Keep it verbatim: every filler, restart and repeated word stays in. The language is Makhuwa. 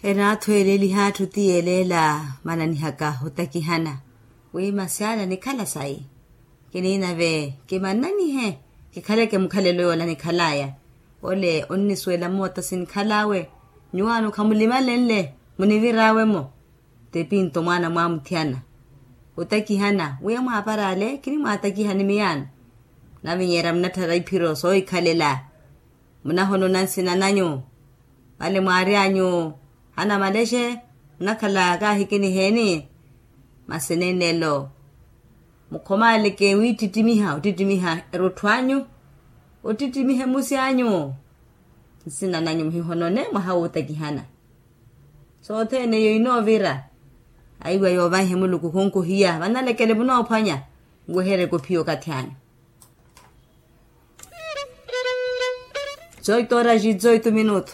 Enaathweeleliha atthu ti yeeleela mananihaka otakihana wi masyala nikhala sayi. Kiniinave kimannanihe kikhaleke mukhalelo yoola nikhalaya. Ole onnisuwela moota sinikhalaawe nyuwaano khamulimalenle muniviraawe-mo. Tepinto mwaana mwamuthiyana otakihana wi amwaaparaale kinimwaatakihani miyaano. Munavinyeera munatthara iphiro soohikhalela. Munahonona nsina nanyu vale mwaari anyu. Hana malexe munakhala kaahikiniheeni. Masi nenelo mukhomaaleke wittittimiha ottittimiha erutthu anyu ottittimiha emusi anyu. Nsina nanyu muhihonone mwaha wootakihana. Sothene eyo inoovira. Aiwa yoovahe muluku khunkuhiya vanalekele munoophwanya. Nwehereke ophiya okathi anyu. Zoito oraxi zoito minutu.